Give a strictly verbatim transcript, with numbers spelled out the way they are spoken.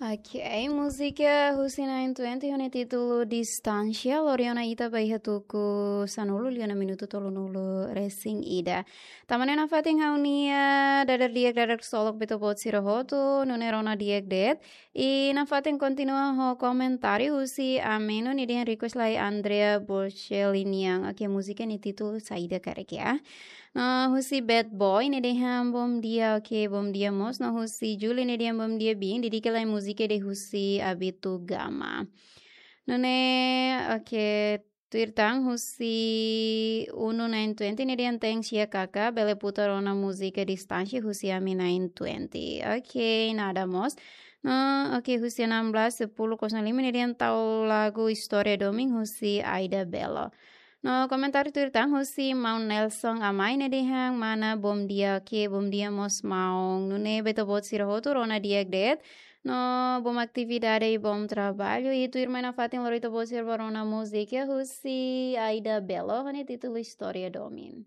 Ok, múzika husi nine twenty ho nia títulu Distánsia, lori ona ita ba iha tuku sanulu liu ona minutu tolunulu resin ida. Tanba ne'e nafatin ha'u-nia dadeer di'ak, dadeer ksolok ba ita-boot sira hotu, nune'e rona di'ak de'it. I nafatin kontinua ho komentáriu husi Ameno, nia dehan request lai Andrea Bocelli nian. Ok, múzika nia títulu Saida Karik, ya. No husi Bad Boy, nia dehan bom dia, ok, bom dia mós. No husi Julie, nia dehan bom dia, bin, dedika lai múzika ida husi Abito Gama. Nune'e, ok, tuir tan husi Uno nine twenty, nia dehan thanks ya kaka, bele putar ona múzika Distánsia husi ami nine twenty. Ok, nada mós. No, ok, husi enam belas sepuluh kosong lima, nia dehan tau lagu Istória Domin husi Aida Belo. No komentáriu tuir tan husi maun Nelson Amai, nia dehan mana bom dia, ok, bom dia mós maun. Nune'e ba ita-boot sira hotu rona di'ak de'it. No bom atividade i bom trabalho. I tuirmai nafatin lori ita-boot sira ba rona múzika husi Aida Belo, ho nia títulu Istória Domin.